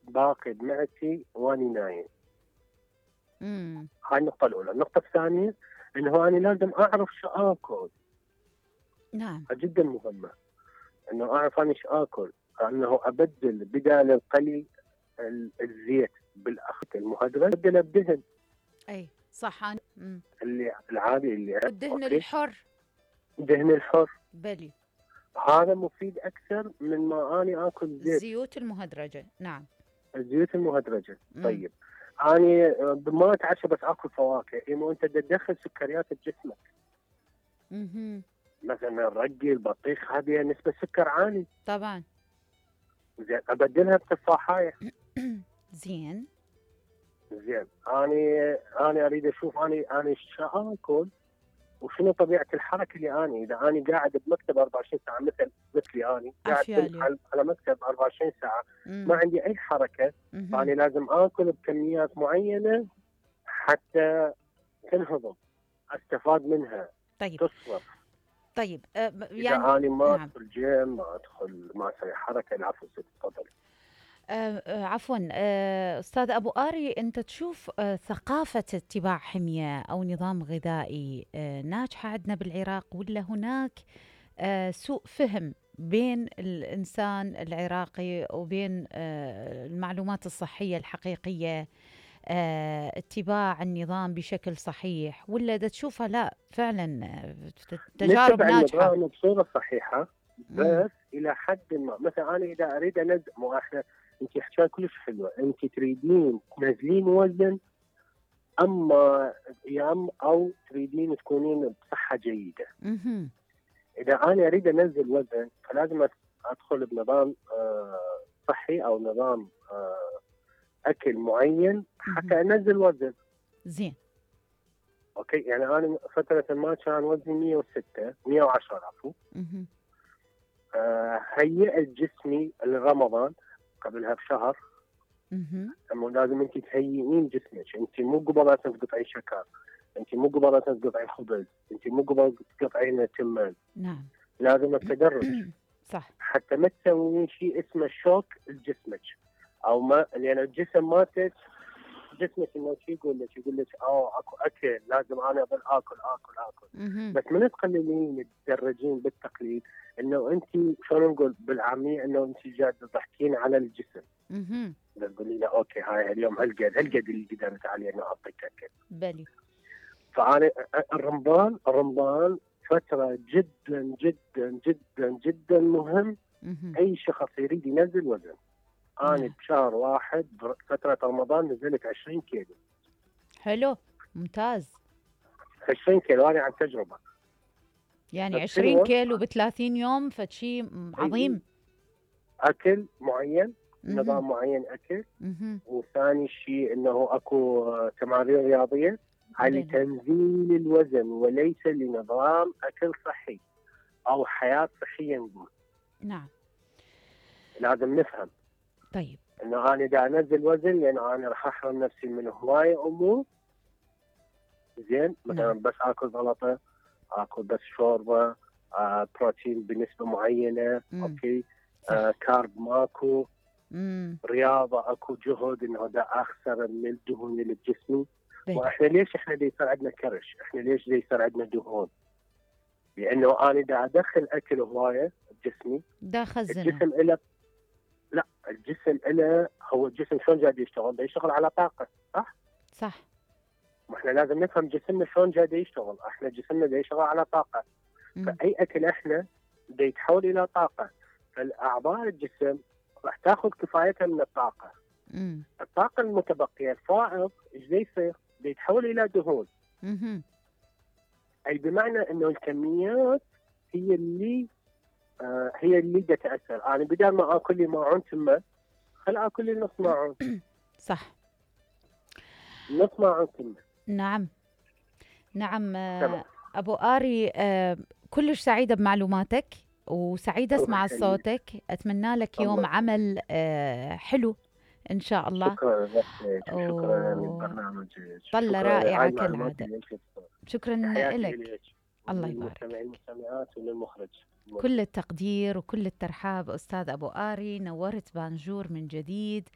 باقي بمعدتي واني نايم. امم هاي النقطة الأولى. النقطة الثانية إنه أنا لازم أعرف شو آكل. نعم. جدا مهمة إنه أعرف أنا شو آكل، إنه أبدل بدال القلي الزيت بالأخذ المهدرج، أبدله بدهن. اي صح. أنا اللي العادي اللي والدهن أوكي، الحر. دهن الحر بلي. هذا مفيد أكثر من ما أنا آكل زيت. الزيوت المهدرجة. نعم. الزيوت المهدرجة. طيب أنا ما أتعشى بس آكل فواكه، إما أنت تدخل سكريات بجسمك. مثلا الرقي، البطيخ، هذه نسبة سكر عالي. طبعا. زين، أبدلها بتفاحية. زين. أنا أريد أشوف أنا شو آكل وشنو طبيعة الحركة اللي إذا أنا قاعد بمكتب 24 ساعة مثلي أنا قاعد على مكتب 24 ساعة ما عندي أي حركة، فأنا لازم آكل بكميات معينة حتى تنهضم، أستفاد منها. طيب. تصرف. طيب يعني إذا أنا ما أدخل جيم، ما أسوي حركة. العفو، تفضل. عفوا أستاذ أبو آري، أنت تشوف ثقافة اتباع حمية أو نظام غذائي ناجحة عندنا بالعراق، ولا هناك سوء فهم بين الإنسان العراقي وبين المعلومات الصحية الحقيقية، اتباع النظام بشكل صحيح، ولا دا تشوفها لا فعلا تجارب ناجحة؟ النظام بصورة صحيحة بس إلى حد ما. مثلا أنا إذا أريد أنزل، مو إحنا أنت حكاية كلش حلوة، أنت تريدين تنزلين وزن أو تريدين تكونين بصحة جيدة. إذا أنا أريد أنزل وزن فلازم أدخل بنظام صحي أو نظام أكل معين حتى أنزل وزن. زين. أوكي، يعني أنا فترة ما كان وزني 110 عفوا. هيئت جسمي لرمضان قبلها بشهر. لازم انت تهيئين جسمك، انت مو قبل لا تقطعي شكر، انت مو قبل لا تقطعي خبز، انت مو قبل تقطعين تمن. نعم. لازم التدرج. صح. حتى ما تسوين شيء اسمه شوك لجسمك، او ما، لان الجسم مالتك جسمك انه يقول لك اكو اكل لازم انا اظل اكل. بس من تقللين تدرجين بالتقليد، انه انت شلون نقول بالعاميه، انه انت جاي تضحكين على الجسم. تقولي له اوكي هاي اليوم هالقد اللي قدرت عليه انه اعطيك اكل. بلي. فانا الرمضان فتره جدا جدا جدا جدا مهم. اي شخص يريد ينزل وزن. أنا بشهر واحد فترة رمضان نزلت 20 كيلو. حلو، ممتاز. 20 كيلو أنا عن تجربة. يعني 20 كيلو ب30 يوم، فشي عظيم. أكل معين، نظام معين أكل. وثاني شيء إنه أكو تمارين رياضية لتنزيل الوزن وليس لنظام أكل صحي أو حياة صحية نقول. نعم. لازم نفهم. طيب. انه انا دا انزل وزن لان انا راح احرم نفسي من هوايه امور. زين، مثلا بس اكل سلطه، اكل بس شوربه، بروتين بنسبه معينه. اوكي. كارب ماكو. رياضه اكو جهد انه دا اخسر من الدهون اللي بجسمي. واحنا ليش دا يصير عندنا كرش؟ احنا ليش دا يصير عندنا دهون؟ لانه انا دا ادخل اكل هوايه بجسمي. دا خزنه. الجسم له، لا، الجسم له، هو الجسم شلون جاي يشتغل؟ يشتغل على طاقه، صح؟ صح. واحنا لازم نفهم جسمنا شلون جاي يشتغل. احنا جسمنا دا يشتغل على طاقه. فاي اكل احنا دا يتحول الى طاقه. فالاعضاء الجسم راح تاخذ كفايتها من الطاقه. الطاقه المتبقيه الفائض ايش دا يصير؟ دا يتحول الى دهون. اي بمعنى انه الكميات هي اللي دا تاثر. انا بدل ما اكل لي ماعون تمه، خل اكل لي نص ماعون. صح. نص ماعون تمه. نعم. ابو آري، كلش سعيده بمعلوماتك وسعيده اسمع صوتك. اتمنى لك يوم عمل حلو ان شاء الله. شكرا شكرا لبرنامجك. طلة رائعه كالعاده. شكرا لك. الله يبارك. للمستمعات وللمخرج. كل التقدير وكل الترحاب أستاذ أبو آري، نورت بانجور من جديد.